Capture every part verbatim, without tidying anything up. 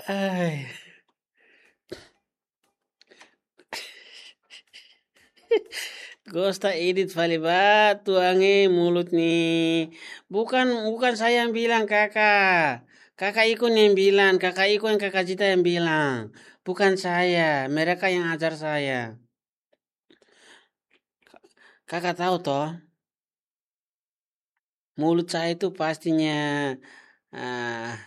Ai. Gosta edit fali ba, tuan e mulut ni. Bukan, bukan saya yang bilang, Kakak. Kakak Ikun yang bilang, Kakak Ikun, Kakak Zita yang bilang. Bukan saya, mereka yang ajar saya. Kakak tahu toh? Mulut saya itu pastinya, ah,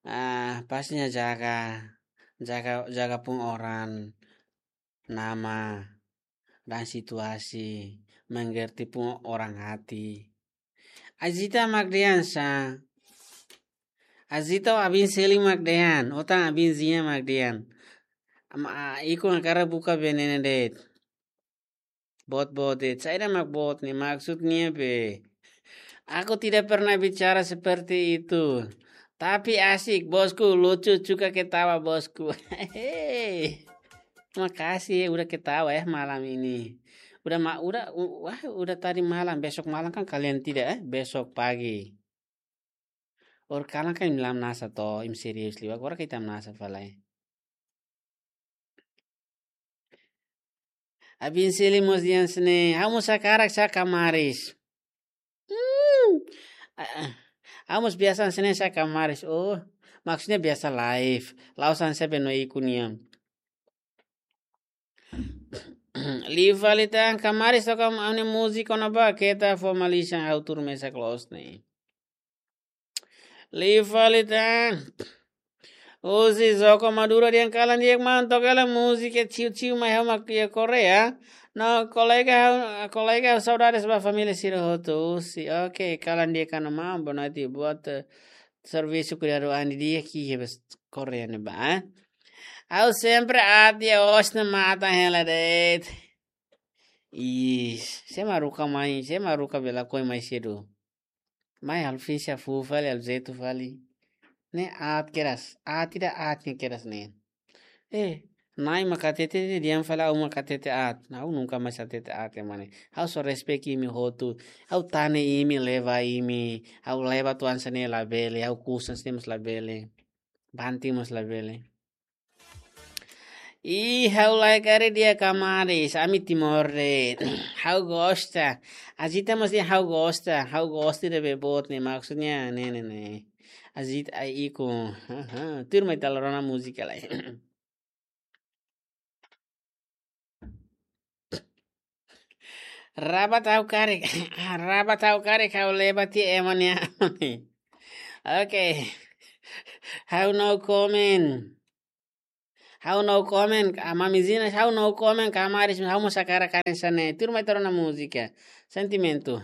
ah, pastinya jaga, jaga, jaga pung orang nama dan situasi, mengerti pung orang hati. Azita mak dehan sa. Azita abin seli mak dehan, otan abin zia mak dehan. Ama, ah, ikun hakarak buka venenu de'it. Boot-boot de'it. Saida mak boot ne'e, maksudnya be. Aku tidak pernah bicara seperti itu. Tapi asik, bosku, lucu, suka ketawa, bosku. Hehe. Makasih, udah ketawa ya malam ini. Udah ma-, udah, u-, wah, udah tadi malam, besok malam kan kalian tidak, eh? Besok pagi. Orsida kalan kan imi la hamnasa to'o, imi serius liu, agora ita hamnasa fali lai. Abin seli mós dehan hanesan ne'e, ha'u mós hakarak sá kamaris. Hmm. Ah, ah. Ha'u mós biasa hanesan ne'e sá kamaris. Oh, maksudnya biasa live. La'ós hanesan be no ikun nian. Liu fali tan, kamaris toka ami-nia múzika ona ba, keta formaliza ha'u tuur mesak loos ne'e. Liu fali tan. Husi Joko Maduro dehan kalan di'ak maun, toka hela múzika chill-chill mai ha'u mak iha Koreia. No kolega ha'u, kolega ha'u saudades ba família sira hotu husi. Oke, kalan di'ak ona maun, boa noite, boa te-, servisu kuidadu an di'ak iha Koreia ne'ebá, eh. Ha'u sempre aat iha osan matan hela de'it. Ih, sé mak haruka mai, sé mak haruka bela koi mai sedu. Mai halo fisi fuu fali, halo jeitu fali. Ne'e aat kedas, aat ida aat ne'e kedas ne'e. Eh, Na'i mak hatete de'it, dehan fali ha'u mak hatete aat. Ha'u nunka mais hatete aat ema ne'e. Ha'u só respect imi hotu. Ha'u tane imi, leba imi. Ha'u leba tuan hanesan ne'e labele, ha'u kusa hanesan ne'e mós labele. Banting mós labele. Ih, ha'u lae karik dehan kamaris, ami Timor de'it. Ha'u gosta. Azita mós dehan ha'u gosta. Ha'u gosta ida be boot ne'e, maksudnya ne'e, ne'e, ne'e. Azita ai ikun. Aha, tuur mai ita la rona múzika lai. Rabat ha'u karik. Rabat ha'u karik, ha'u leba tiha ema nia. Oke. Ha'u no comment. Ha'u no comment, ah, Mami Zina, ha'u no comment, kamaris, ha'u mós hakarak hanesan ne'e. Tuur mai ita rona múzika. Sentimentu.